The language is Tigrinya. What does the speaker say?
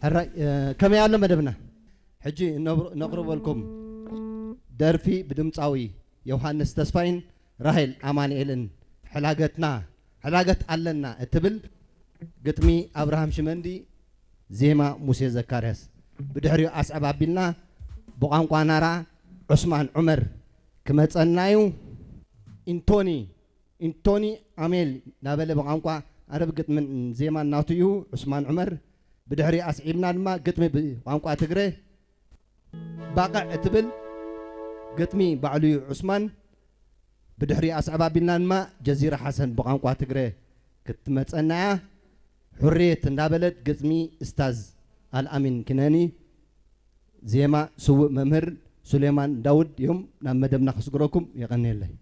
ሕራይ ከመይ ኣሎ መደብና? ሕጂ ነቕርበልኩም ደርፊ ብድምፃዊ ዮሃንስ ተስፋይን ራሄል ኣማንኤልን፣ ሕላገትና ሕላገት ኣለና እትብል፣ ግጥሚ ኣብርሃም ሽመንዲ፣ ዜማ ሙሴ ዘካርያስ። ብድሕሪኡ ኣስዕብ ኣቢልና ብቋንቋ ናራ ዑስማን ዑመር ክመፀና እዩ። ኢንቶኒ ኢንቶኒ ኣሜል እናበለ ብቋንቋ ኣረብ ግጥምን ዜማን ናቱ እዩ። ዑስማን ዑመር ብድሕሪ ኣስዒብና ድማ ግጥሚ ብቋንቋ ትግረ ባቕዕ እትብል ግጥሚ ባዕሉ እዩ ዑስማን። ብድሕሪ ኣስዕብ ኣቢልና ድማ ጀዚራ ሓሰን ብቋንቋ ትግረ ክትመፀና እያ። ሕርየት እንዳበለት ግጥሚ እስታዝ ኣልኣሚን ክነኒ፣ ዜማ ስውእ መምህር ሱሌማን ዳውድ እዮም። ናብ መደብና ከስግረኩም የቐንየለይ።